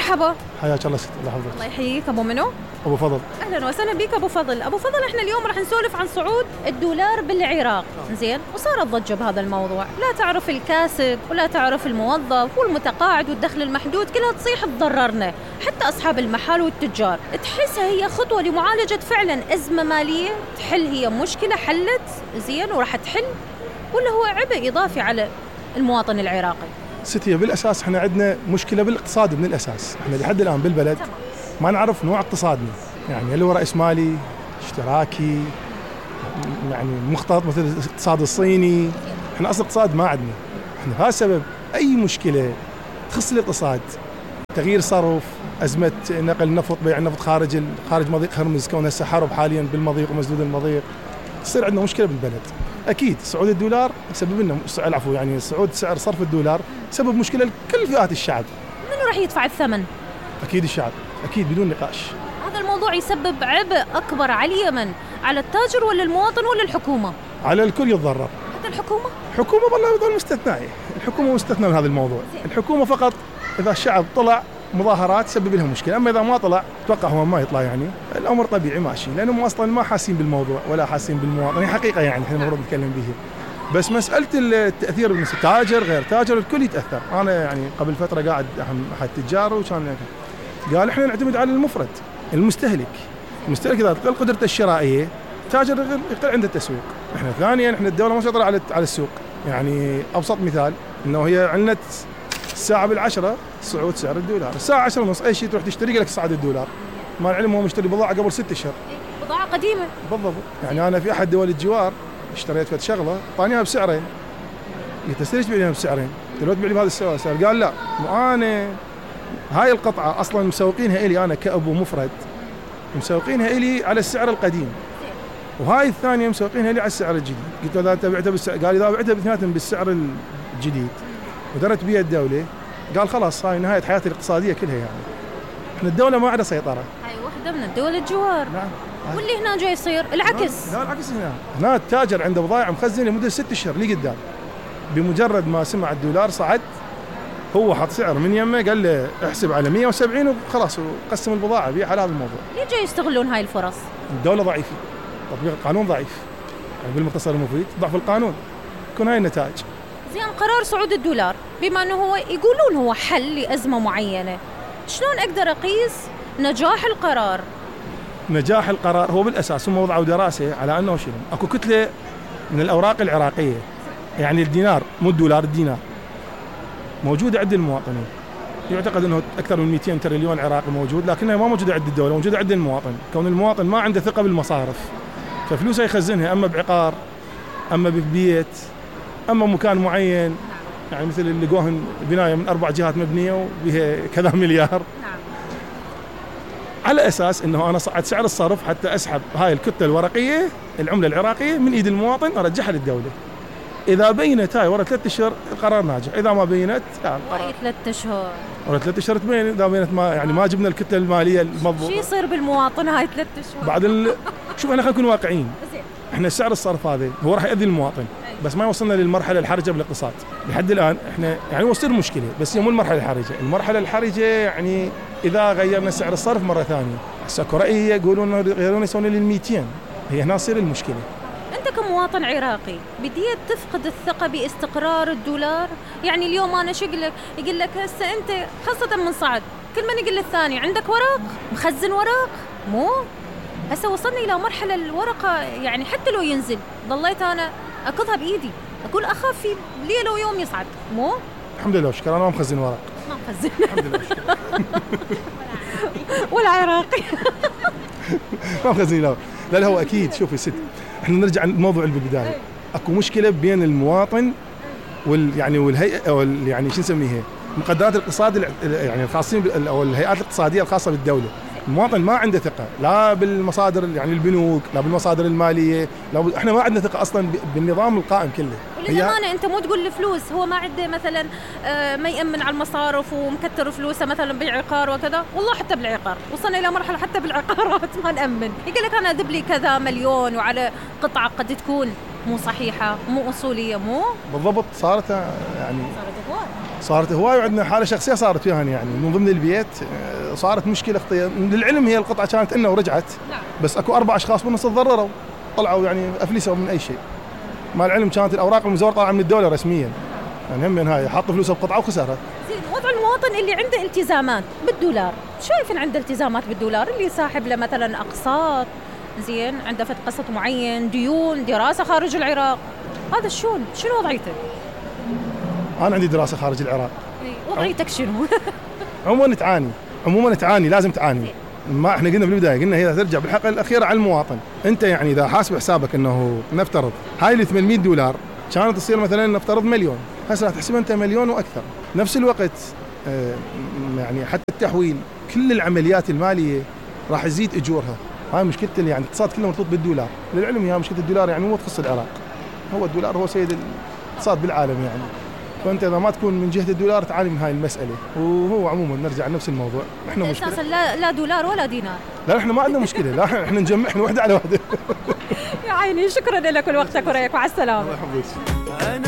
مرحبا. حياك الله ست. الله يحفظك. الله يحييك. ابو منو؟ ابو فضل. اهلا وسهلا بك ابو فضل. ابو فضل، احنا اليوم راح نسولف عن صعود الدولار بالعراق. زين، وصارت ضجه بهذا الموضوع، لا تعرف الكاسب ولا تعرف الموظف والمتقاعد والدخل المحدود كلها تصيح تضررنا، حتى اصحاب المحال والتجار. تحسها هي خطوه لمعالجه فعلا ازمه ماليه، تحل هي مشكله حلت زين وراح تحل، ولا هو عبء اضافي على المواطن العراقي؟ ستي بالاساس احنا عندنا مشكله بالاقتصاد من الاساس. احنا لحد الان بالبلد ما نعرف نوع اقتصادنا، يعني هل هو رأس مالي اشتراكي، يعني مختلط مثل الاقتصاد الصيني. احنا اصلا اقتصاد ما عندنا. احنا بهذا السبب اي مشكله تخص الاقتصاد، تغيير صرف، ازمه نقل النفط، بيع النفط خارج مضيق هرمز، كون هسه حرب حاليا بالمضيق ومسدود المضيق، تصير عندنا مشكله بالبلد. اكيد صعود الدولار يسبب لنا يعني صعود سعر صرف الدولار سبب مشكله لكل فئات الشعب. منو راح يدفع الثمن؟ اكيد الشعب، اكيد بدون نقاش. هذا الموضوع يسبب عبء اكبر على اليمن، على التاجر ولا المواطن ولا الحكومه؟ على الكل يتضرر. حتى الحكومه؟ الحكومه والله هذول مستثناء، الحكومه مستثنى من هذا الموضوع. الحكومه فقط اذا الشعب طلع مظاهرات سبب لها مشكله، اما اذا ما طلع اتوقع هو ما يطلع، يعني الامر طبيعي ماشي، لانهم اصلا ما حاسين بالموضوع ولا حاسين بالمواطن. حقيقه يعني احنا المفروض نتكلم به. بس مساله التاثير بالنسبه تاجر غير تاجر الكل يتاثر. انا يعني قبل فتره قاعد احد التجار وكان قال احنا نعتمد على المفرد، المستهلك اذا تقل قدرته الشرائيه تاجر يقل عنده التسويق. احنا ثانيا احنا الدوله ما مسيطره على السوق. يعني ابسط مثال انه هي عندنا الساعه بالعشرة صعود سعر الدولار، الساعه 10:30 اي شيء تروح تشتري لك صعد الدولار. ما العلم هو مشتري بضاعه قبل 6 اشهر، بضاعه قديمه بالضبط. يعني انا في احد دول الجوار اشتريت فد شغله طانيها بسعرين، قلت له ليش تبيعها بسعرين؟ قلت له تبيع لي بهذا السعر. قال لا، انا هاي القطعه اصلا مسوقينها الي انا كابو مفرد، مسوقينها الي على السعر القديم، وهاي الثانيه مسوقينها لي على السعر الجديد. قلت له اذا انت بعتها بالسعر، قال اذا بعتها باثنيناتهم بالسعر الجديد ودرت بيها الدوله، قال خلاص هاي نهايه حياتي الاقتصاديه كلها. يعني احنا الدوله ما عندها سيطره. هاي واحده من الدول الجوار. نعم. واللي هنا جاي يصير العكس. لا العكس. هنا التاجر عنده بضائع مخزنه لمده 6 اشهر لي قدام، بمجرد ما سمع الدولار صعد هو حط سعر من يمه، قال له احسب على 170 وخلاص، وقسم البضاعه بيع على هذا الموضوع. ليه جاي يستغلون هاي الفرص؟ الدوله ضعيفه، تطبيق القانون ضعيف، يعني بالمختصر المفيد ضعف القانون، تكون هاي النتائج. زين، قرار صعود الدولار بما انه هو يقولون هو حل لازمه معينه، شلون اقدر اقيس نجاح القرار؟ نجاح القرار هو بالاساس هم وضعوا دراسه على انه شنو، اكو كتله من الاوراق العراقيه، يعني الدينار مو الدولار، الدينار موجوده عند المواطنين. يعتقد انه اكثر من 200 تريليون عراقي موجود، لكنها ما موجوده عند الدوله، موجوده عند المواطن. كون المواطن ما عنده ثقه بالمصارف، ففلوسه يخزنها اما بعقار، اما ببيت، اما مكان معين، يعني مثل اللي لقوهن بنايه من 4 جهات مبنيه وبها كذا مليار. على اساس انه انا صعد سعر الصرف حتى اسحب هاي الكتله الورقيه العمله العراقيه من ايد المواطن ارجعها للدوله. اذا بينت هاي ورا 3 اشهر القرار ناجح، اذا ما بينت يعني ورا 3 اشهر، ورا 3 اشهر تبين. اذا بينت ما يعني ما جبنا الكتله الماليه المضبوطه. شو يصير بالمواطن هاي 3 اشهر؟ بعد شوف احنا خلينا نكون واقعيين. احنا سعر الصرف هذا هو راح يؤذي المواطن، بس ما وصلنا للمرحله الحرجه بالاقتصاد لحد الان. احنا يعني وصل مشكله، بس هي مو المرحله الحرجه. المرحله الحرجه يعني اذا غيرنا سعر الصرف مره ثانيه. هسه اكو رأي يقولون يغيرون يسوون لل 200، هي هنا تصير المشكله. انت كمواطن عراقي بديت تفقد الثقه باستقرار الدولار. يعني اليوم انا شو اقول لك؟ يقول لك هسه انت خاصه من صعد كل من يقول للثاني عندك ورق مخزن ورق، مو هسه وصلنا الى مرحله الورقه يعني حتى لو ينزل ضليت انا اخذها بايدي، اقول اخاف في ليله ويوم يصعد، مو الحمد لله وشكرا. انا ما مخزن ورق، ما مخزن الحمد لله وشكرا. ولا عراقي ما مخزن. لا هو اكيد. شوفي ست، احنا نرجع الموضوع اللي بالبدايه. اكو مشكله بين المواطن يعني والهيئه او يعني شو نسميها مقدرات الاقتصاد يعني الخاصين او الهيئات الاقتصاديه الخاصه بالدوله. المواطن ما عنده ثقه لا بالمصادر، يعني البنوك، لا بالمصادر الماليه، لا احنا ما عندنا ثقه اصلا بالنظام القائم كله. وللأمانة انت مو تقول الفلوس هو ما عنده مثلا ما يأمن على المصارف ومكتر فلوسه مثلا بالعقار وكذا. والله حتى بالعقار وصلنا الى مرحله حتى بالعقارات ما نأمن. يقول لك انا اذب لي كذا مليون وعلى قطعه قد تكون مو صحيحة، مو أصولية، مو بالضبط. صارت يعني هواي. صارت هواي، وعندنا حالة شخصية صارت فيها يعني من ضمن البيت. صارت مشكلة خطية. للعلم هي القطعة كانت إنه ورجعت، بس أكو 4 أشخاص بالنص تضرروا، طلعوا يعني أفلسوا من أي شيء. مع العلم كانت الأوراق المزورة طالعة من الدولة رسميا، يعني هم من هاي حط فلوسه بقطعة وخسرها. زين، وضع المواطن اللي عنده التزامات بالدولار، شايفين عنده التزامات بالدولار، اللي ساحب له مثلا أقساط، زين، عنده فد قسط معين، ديون، دراسة خارج العراق، هذا شنو وضعيته؟ أنا عندي دراسة خارج العراق. وضعيتك شنو؟ عموما تعاني، لازم تعاني. ما احنا قلنا بالبداية، قلنا هي ترجع بالحلقة الأخيرة على المواطن. أنت يعني إذا حاسب حسابك إنه نفترض هاي ال $800 كانت تصير مثلا نفترض مليون، هسه راح تحسب أنت مليون وأكثر. نفس الوقت يعني حتى التحويل، كل العمليات المالية راح يزيد أجورها. هاي مشكلة يعني الاقتصاد كله مرتبط بالدولار. للعلم هي مشكلة الدولار يعني مو تخص العراق، هو الدولار هو سيد الاقتصاد بالعالم يعني. فأنت إذا ما تكون من جهة الدولار تعاني من هاي المسألة. وهو عموما نرجع لنفس الموضوع، احنا مشكلة أساسا لا دولار ولا دينار. لا احنا ما عندنا مشكلة، لا احنا نجمع، احنا وحدة على وحدة. يا عيني، شكرا لك ولوقتك ورأيك، مع السلامة. الله يحفظك.